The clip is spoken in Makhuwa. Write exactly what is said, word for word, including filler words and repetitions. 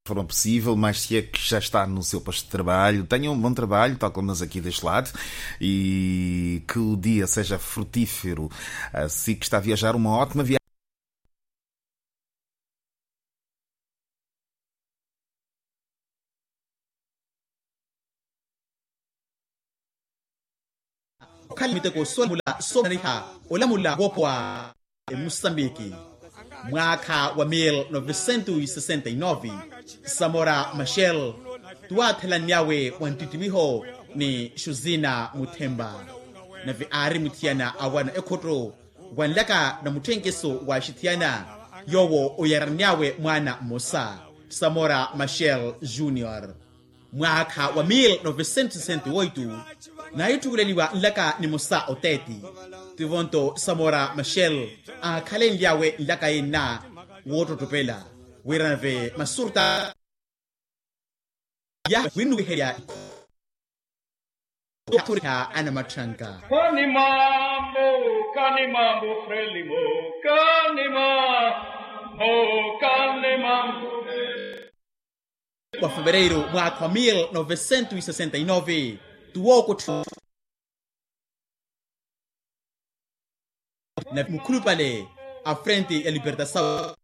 forma possível, mas se é que já está no seu posto de trabalho, tenha um bom trabalho, tal como nós aqui deste lado, e que o dia seja frutífero. Ah, se que está a viajar, uma ótima viagem. Okhala miteko solamula somananiha olamula woopowa emusambiki. Mwaakha wa mil novecentos sesenta y nove, samora machel tuwaathelanny'awe wa nttittiwiho ni xuzina muthemba, nave aari muthiyana awana ekhotto wanlaka na mutthenkeso wa axithiyana, yoowo oyaranny'awe mwaana mmosa, samora machel junior. Mwaakha wa mil novecentos sesenta y oito, naahitthukuleliwa nlaka nimosa oteeti. Tivo-nto samora machel aakhalenly'awe nlaka yenna woottottopela wira nave masurta yaha winnuwiherya ikho yathoriha anamatthanka. Kani mambo, kani mambo frelimo, kani mambo, kani mambo. Wa fevereiru mwaakha wa mil novecentos sesenta y nove, tuwookottha na mukhulupale a frente ya libertasaw